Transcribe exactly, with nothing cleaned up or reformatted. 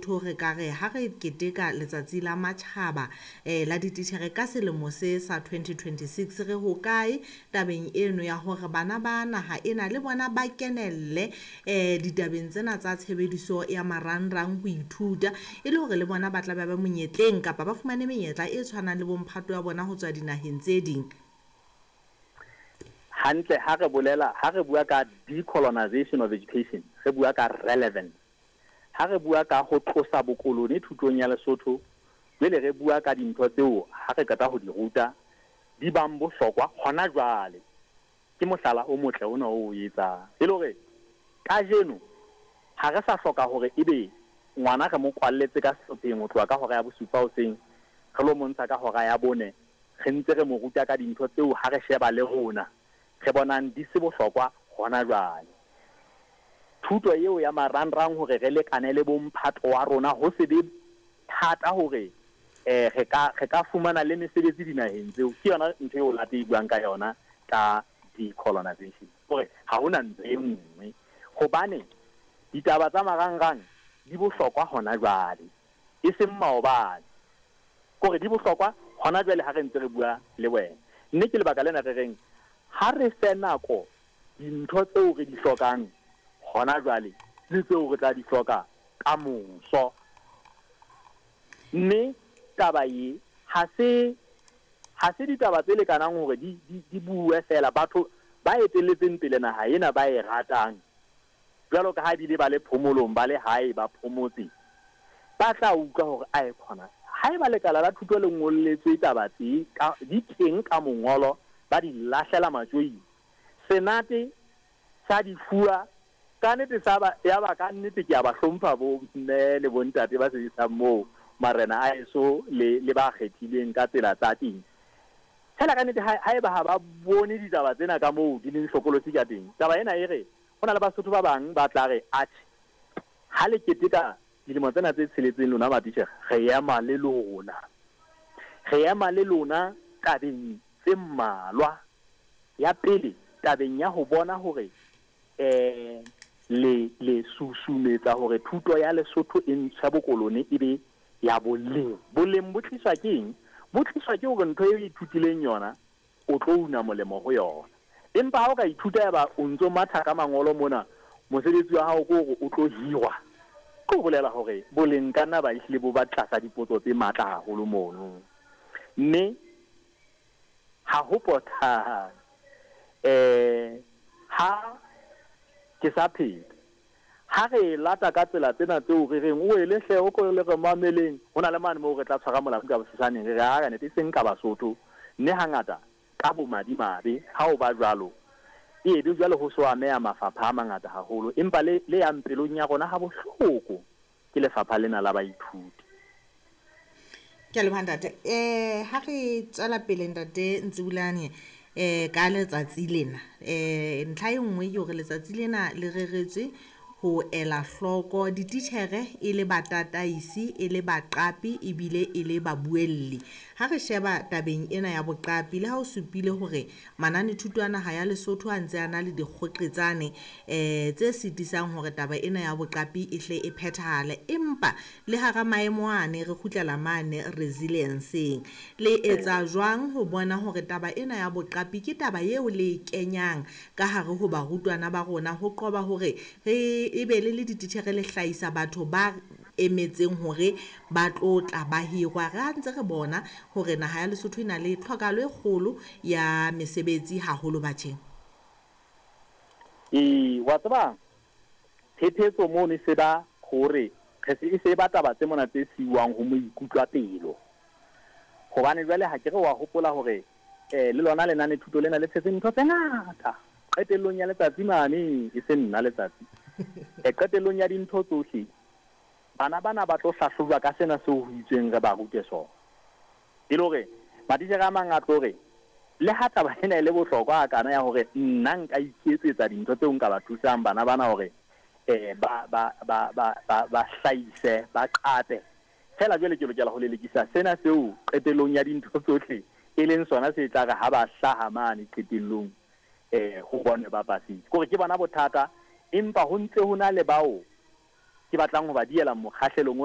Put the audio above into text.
Lesotho re ka re ha re keteka letsatsi la matjhaba eh la dititjhere ka selemo se sa twenty twenty-six, re hokae tabeng eno ya hore bana ba naha ena le bona ba kenelle eh ditabeng tsena tsa tshebediso ya marangrang ho ithuta, e le hore le bona ba tla ba ba monyetleng kapa ba fumane menyetla e tshwanang le bomphato ya bona ho tswa dinaheng tse ding? Hantle, ha re bolela, ha re bua ka decolonization of education, re bua ka relevance. Ha re bua ka ho tlosa bokolone thutong ya Lesotho, jwale re bua ka dintho tseo ha re qeta ho di ruta di bang bohlokwa hona jwale. Ke mohlala o motle ona o etsang, e le hore kajeno ha re sa hloka hore ebe ngwana re mo kwalletse ka sehlopheng ho tloha ka hora ya bosupa hoseng, re lo montsha ka hora ya bone, re ntse re mo ruta ka dintho tseo ha re sheba le rona re bonang di se bohlokwa hona jwale. Thuto eo ya marangrang hore re lekane le bomphato wa rona, ho se be thata hore eh re ka re ka fumana le mesebetsi dinaheng tseo, ke yona ntho eo late e buang ka yona ka decolonization, hore ha hona ntho e nngwe, hobane ditaba tsa marangrang di bohlokwa hona jwale, e seng maobane. Kore di bohlokwa hona jwale ha re ntse re bua le wena. Mme ke lebaka lena re reng ha re fe nako dintho tseo re di hlokang hona jwale le tseo re tla di hloka ka moso. Mme taba e ha se ha se ditaba tse lekanang hore di di di bue fela. Batho ba etelletseng pele naha ena ba e ratang, jwalo ka ha ebile ba le phomolong, ba le hae ba phomotse, ba tla utlwa hore ae khona haeba lekala la thuto le ngolletswe taba tse ka di teng ka mongolo, ba di lahlela matjoing, senate sa di fuwa ka nnete, sa ba ya ba ka nnete. Ke a ba hlompha bo mme le bontate ba sebetsang moo, marena a eso le le ba kgethilweng ka tsela tsa teng. Fela ka nnete haeba ha ba bone ditaba tsena ka moo di leng hlokolosi ka teng, taba ena e re ho na le Basotho ba bang ba tla re atjhe, ha le keteka dilemo tsena tse tsheletseng lona matitjhere, re ema le lona, re ema le lona tabeng tse mmalwa. Ya pele, tabeng ya ho bona hore eh le le susumetsa hore thuto ya Lesotho e ntshwe bokolone e be ya boleng. Boleng bo tliswa ke eng? Bo tliswa ke hore ntho eo ithutileng yona o tlo una molemo ho yona. Empa ha o ka ithuta ya ba o ntso matha ka mangolo mona, mosebetsi wa hao ke hore o tlo hirwa, ke ho bolela hore boleng ka nna ba ehlile bo ba tlasa dipotso tse matla haholo mono. Mme ha ho potang eh ha ke sa pheta, ha re lata ka tsela tsena tseo re reng o ele hle o ko le re mameleng, ho na le mane moo re tla tshwara molamu ka bosesaneng, re re ha ka nete e seng ka Basotho. Mme hangata ka bomadimabe ha o ba jwalo, e be jwale ho so ameha mafapha a mangata haholo, empa le le yang pelong ya rona ha bohloko ke lefapha lena la baithuti. Ke a leboha ntate. Eh ha re tswela pele ntate Ntsebulane eh ka letsatsi lena, eh ntlha e nngwe ke hore letsatsi lena le reretswe ho ela hloko dititjhere e le batataisi, e le baqapi ebile e le babuelli. Ha re sheba tabeng ena ya boqapi, le ha o supile hore mananethuto a naha ya Lesotho a ntse a na le dikgoqetsane eh tse sitisang hore taba ena ya boqapi e hle e phethahale, empa le hara maemo ane re kgutlela mane resilience-eng. Le etsa jwang ho bona hore taba ena ya boqapi ke taba eo le e kenyang ka hare ho barutwana ba rona, ho qoba hore re ebe le le dititjhere le hlahisa batho ba emetseng hore ba tlo tla ba hirwa? Re ha ntse re bona hore naha ya Lesotho e na le tlhokahalo e kgolo ya mesebetsi haholo batjheng. E wa tseba phephetso mono e se ba hore re se e se ba taba tse mona tse siuwang ho maikutlo a pelo, hobane jwale ha ke re wa hopola hore eh le lona lenane thuto lena le tshetse ntho tse ngata qetellong ya letsatsi mane, e se nna letsatsi e qetellong ya dintho tsohle, bana bana ba tlo hlahlojwa ka sena seo ho itsweng re ba rute sona. E le hore matitjhere a mang a tlo re le ha taba ena e le bohlokwa a kana ya hore nna nka iketsetsa dintho tseo nka ba thusang bana bana hore eh ba ba ba ba ba ba hlahise, ba qape, fela jwale ke lokela ho lelekisa sena seo qetellong ya dintho tsohle e leng sona se tla re ha ba hlaha mane qetellong eh ho bonwe ba pasitse. Kore ke bona bothata, empa ho ntse ho na le bao ke batlang ho ba diela mokgahlelong ona.